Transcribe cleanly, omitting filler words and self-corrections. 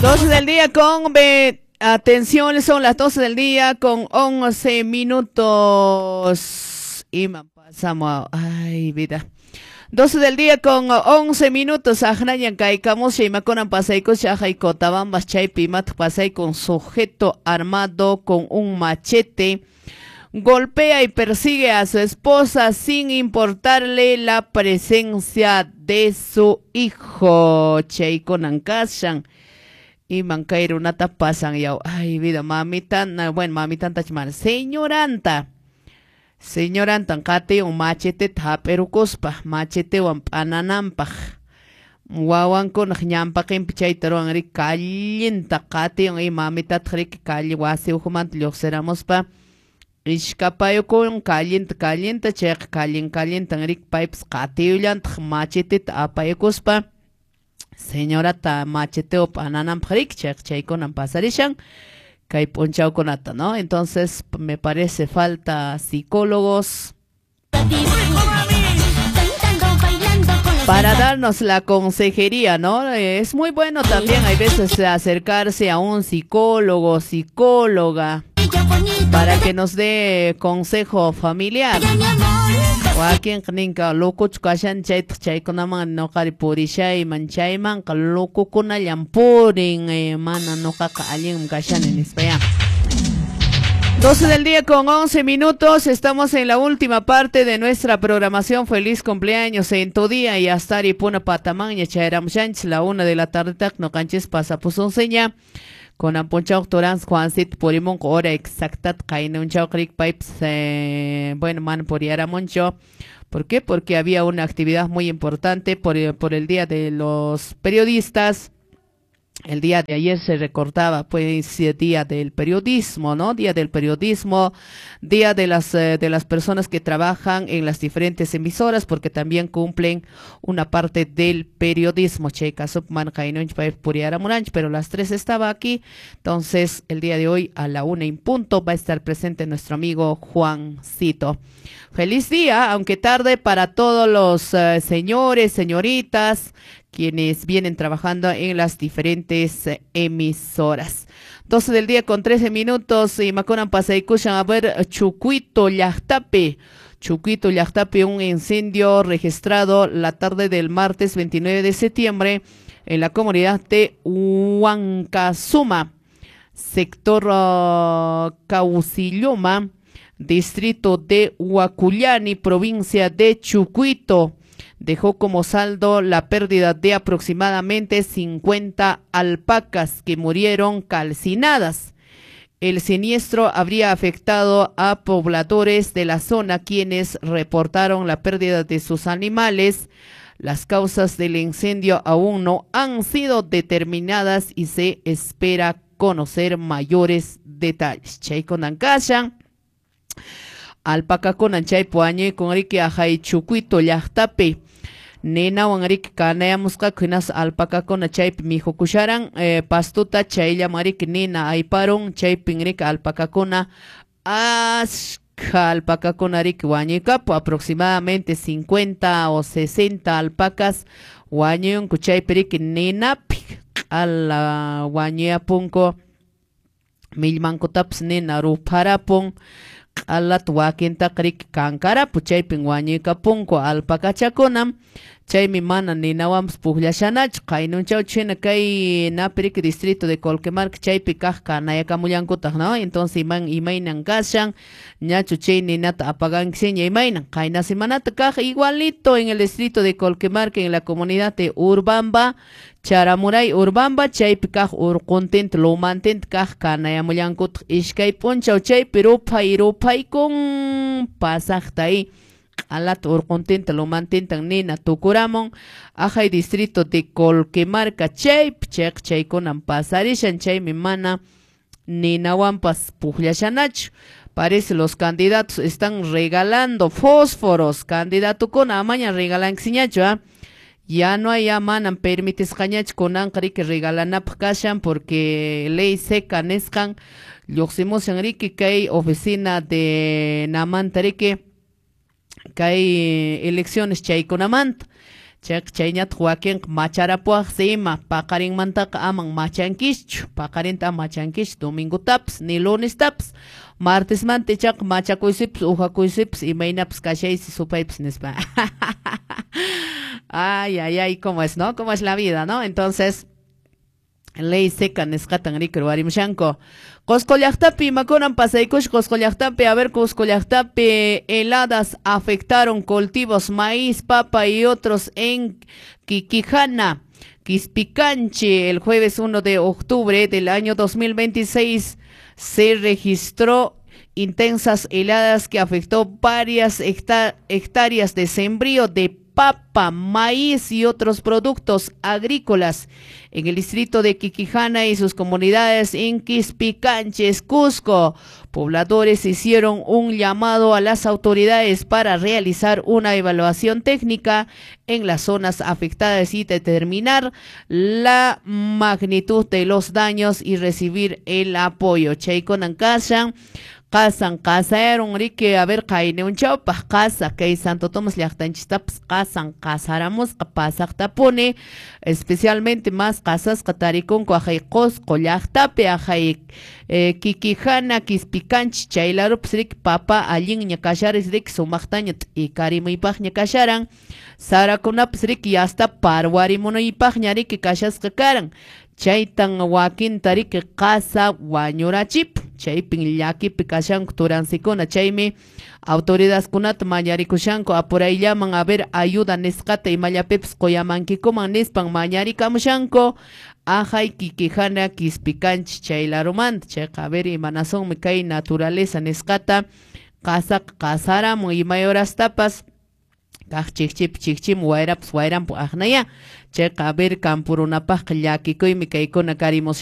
12 del día con... Atención, son las 12 del día con 11 minutos. Y pasamos. Ay, vida. 12 del día con 11 minutos. Ajnayan kaikamos y maconan pasaycos ajay cotabambas chaypi mat pasay con sujeto armado con un machete. Golpea y persigue a su esposa sin importarle la presencia de su hijo. Chaykunan kashan. Iman kay runata pasan yaw. Ay, vida, mamita, bueno, mamita tachman. Señoranta. Señorantan qati un machete hap'irukuspa, machetewan p'anananpaq. Wawankunaq ñanpaqinpi chayta ruwan riki kallinta qatiwan y mamitataq riki calle wasi ukhumanta lluqsiramuspa ishkapayukun kallinta kallinta chayqa kallin kallintan riki paypas qatiyullantaq macheteta apayukuspa señorata macheteo p'anananpaq riki chayqa chaykunan pasarishan kay p'unchawkunata, ¿no? Entonces me parece falta psicólogos para darnos la consejería, ¿no? Es muy bueno también hay veces acercarse a un psicólogo, psicóloga, para que nos dé consejo familiar. Wakinqa ninka locochu kashan chaytaq chaykunaman ñuqari purishayman chaymanqa locokunallan purin, mana ñuqaqa allinmi kashani nispa ya. 12 del día con 11 minutos, estamos en la última parte de nuestra programación. Feliz cumpleaños en tu día y hasta Aripuna Patamaña, Chayaramushanchis, la 1 de la tarde, noqanchis pasapusunseña. Con Amponchau Torans, Juancito Purimón, hora exacta, Kainunchau Creek Pipes, bueno, man puriaramoncho. ¿Por qué? Porque había una actividad muy importante por el Día de los Periodistas. El día de ayer se recordaba, pues, Día del Periodismo, ¿no? Día del Periodismo, Día de las personas que trabajan en las diferentes emisoras, porque también cumplen una parte del periodismo. Checa, Subman, Jainunch, Puriaramuranch, pero las 3 estaba aquí. Entonces, el día de hoy, a la 1 en punto, va a estar presente nuestro amigo Juancito. Feliz día, aunque tarde, para todos los señores, señoritas, quienes vienen trabajando en las diferentes emisoras. 12 del día con 13 minutos y maconan pasaykushan a ver Chucuito Llaqtapi. Chucuito Llaqtapi, un incendio registrado la tarde del martes 29 de septiembre en la comunidad de Huancasuma, sector Caucilloma, distrito de Huacullani, provincia de Chucuito. Dejó como saldo la pérdida de aproximadamente 50 alpacas que murieron calcinadas. El siniestro habría afectado a pobladores de la zona, quienes reportaron la pérdida de sus animales. Las causas del incendio aún no han sido determinadas y se espera conocer mayores detalles. Chaykunan kashan. Alpacakunan chaypi wañuykun riki ajay Chucuito llaqtapi. Ninawan riki kanayamusqaku hinaspa alpacakuna chaypi mijukusharan pastuta chayllaman riki nina ayparun chaypin riki alpacakuna ashka alpacakuna riki wañuykapu aproximadamente 50 o 60 alpacas wañuyunku chaypi riki ninapi q'ala wañuyapunku millmankutapas nina rupharapun q'alata wakintaqa riki kankarapu chaypin wañuykapunku alpacachakunam chaymi mana ninawanpas pukllashanachu qaynunchawchu hina kay napi riki distrito de Colquemarca chaypi kaq kanayakamullankutaq, ¿no? Entonces imaynan kashan ñachu chay ninata apagankiseña imaynan qayna semanata kaq igualito en el distrito de Colquemarca en la comunidad de Urbamba Charamuray Urbamba chaypi kaq urquntinta lumantinta kaq kanayamullankutaq iskay p'unchaw chaypi ruphay ruphaykun pasaqta y q'alata urquntinta lumantintan nina tukuramun ajay distrito de Colquemarca chaypi chayqa chaykunan pasarishan chaymi mana ninawanpas pukllashanachu. Parece los candidatos están regalando fósforos. Candidatukuna amaña regalankiñachu, ¿ah? Ya no hay, ya manan permitisqañachu kunanqa riki regalanapaq kashan porque ley seca nisqan lluqsimushan riki kay oficina de namanta riki kay elecciones chaykunamanta. Chayqa chayñataq wakinqa macharapuwaqsi ima, paqarinmantaqa aman machankischu, paqarinta ama machankischu domingotapas ni lunestapas, martesmanta ichaqa machakuysipas ujakuysipas imaynapas kashaysi supaypas nispa. Ay, ay, ay, cómo es, ¿no? Cómo es la vida, ¿no? Entonces, ley seca nisqatan riki ruwarimushanku. Cusco llaqtapi imakunan pasaykush Cusco llaqtapi, a ver, Cusco llaqtapi heladas afectaron cultivos, maíz, papa y otros en Quiquijana, Quispicanchi. El jueves 1 de octubre del año 2026 se registró intensas heladas que afectó varias hectáreas de sembrío de papa, maíz y otros productos agrícolas en el distrito de Quiquijana y sus comunidades en Quispicanches, Cusco. Pobladores hicieron un llamado a las autoridades para realizar una evaluación técnica en las zonas afectadas y determinar la magnitud de los daños y recibir el apoyo. Chaykunan kashan, qasan qasayarun riki, a ver, qayniunchawpaq qasa kay Santo Tomás llaqtanchistapas qasan qasaramusqa pasaqtapuni, especialmente más qasasqa tarikunku aqhay Qusqu llaqtapi, aqhay Quiquijana, Quispicanchi chay larupas riki papa allinña kasharis riki sumaqtaña t'ikarimuypaqña kasharan, sarakunapas riki yasta parwarimunuypaqña riki kashasqa karan, chaytan wakinta riki qasa wañurachip, chaypin llakipi kashanku turansikuna, chaymi autoridadkunata mañarikushanku apurayllaman a ver ayuda nisqata imallapipas quyamankikuman nispan mañarikamushanku aqhay Quiquijana, Quispicanchi chay larumanta. Chayqa a ver imanasunmi kay naturaleza nisqata qasaqa qasaramun imay horastapas kaq chikchipi chikchimun wayrapas wayranpu aqnaya, chayqa a ver kampurunapaqqa llakikuymi kaykuna karimushan.